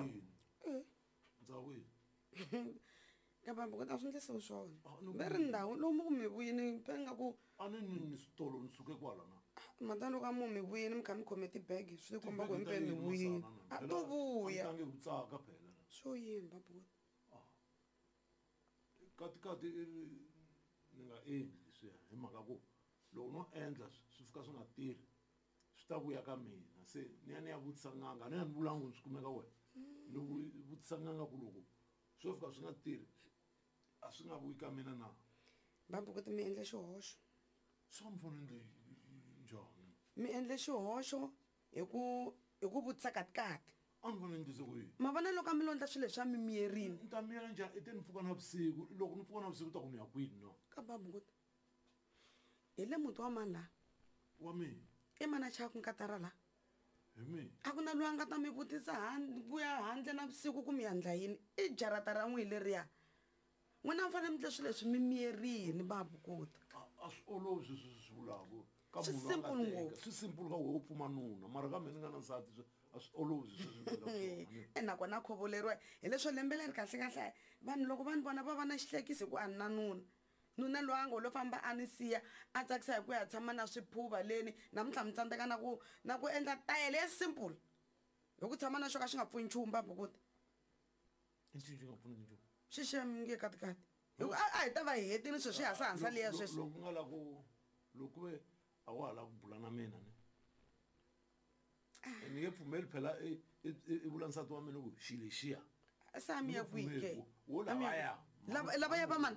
Yini? Ndzawu yini? Ka babukuti a swi ndlisiwi swona. Ah, ni ku- Ve ri ndhawu lomu ku mi vuyini pe nga ku A ni ni ni switolo ni suke kwala na. Mata loko a mu mi vuyini mi kha mi khome tibege swi komba ku Tibege ta himpe mi yini, vuyini. Masana, na? A Phela, to vuya. A ni tangi ku tsaka phela na. Swo yini babukuti? Katikati i ri ni nga endli leswiya hi mhaka ku loko no endla swi fika swi nga tirhi swi ta vuya ka mina se ni ya ni ya vutisa n'anga a ni ya ni vulangu ni swi kumeka wena ni vutisa n'anga ku loko swo fika swi nga tirhi a swi nga vuyi ka mina na. Babukuti mi endle xihoxo. Swa mi fanele endle njhani? Mi endle xihoxo hi ku hi ku vutisa katikati. A ni fanele endlise ku yini? Ma vona loko a mi lo endla swilo leswiya mi miyerini. Ni ta miyela njhani? I te ni pfuka navusiku loko ni pfuka navusiku ta ku ni ya kwini na? Ka babukuti hi le muti wa mani laha? Wa mina. I mani a chayaka nkatara laha? Hi mina. A ku na loyi a nga ta mi vutisa ku ya handle navusiku ku mi ya ndla yini? I jarata ra n'wina leriya. N'wina mi fanele mi ndle swilo leswi mi miyerini babukuti. A swi olovi sweswi swi swi vulaka ka Swi munhu a nga simple teka. ngopfu. Swi simple ka wehe u pfuma nuna mara ka mina ni nga na nsati a swi olovi sweswi ni vulaka swona ni. E nakona khovoleriwa hileswo lembe leri kahle kahle vanhu loko va ni vona va va na xihlekisi hi ku a ni na nuna. Nuna loyi a ngo lo famba a ni siya a tsakisa hi ku ya tshama na swiphuva leni namuntlha mi tsandzeka na ku na ku endla tayele ya simple hi ku tshama na xo ka xi nga pfuni nchumu babukuti. I ncini xi nga pfuniki nchumu? Xixem nge katikati. Hi ku a hi ta va hi hetile sweswi hasahasa liya sweswi. Loko nga la ku loko ku ve a wa ha lava ku bula na mina ne. Ni nge pfumeli phela i vula nsati wa mina ku xi lexiya. Se a mi ya kwihi ke? Wo lavaya. Lava lavaya va mani?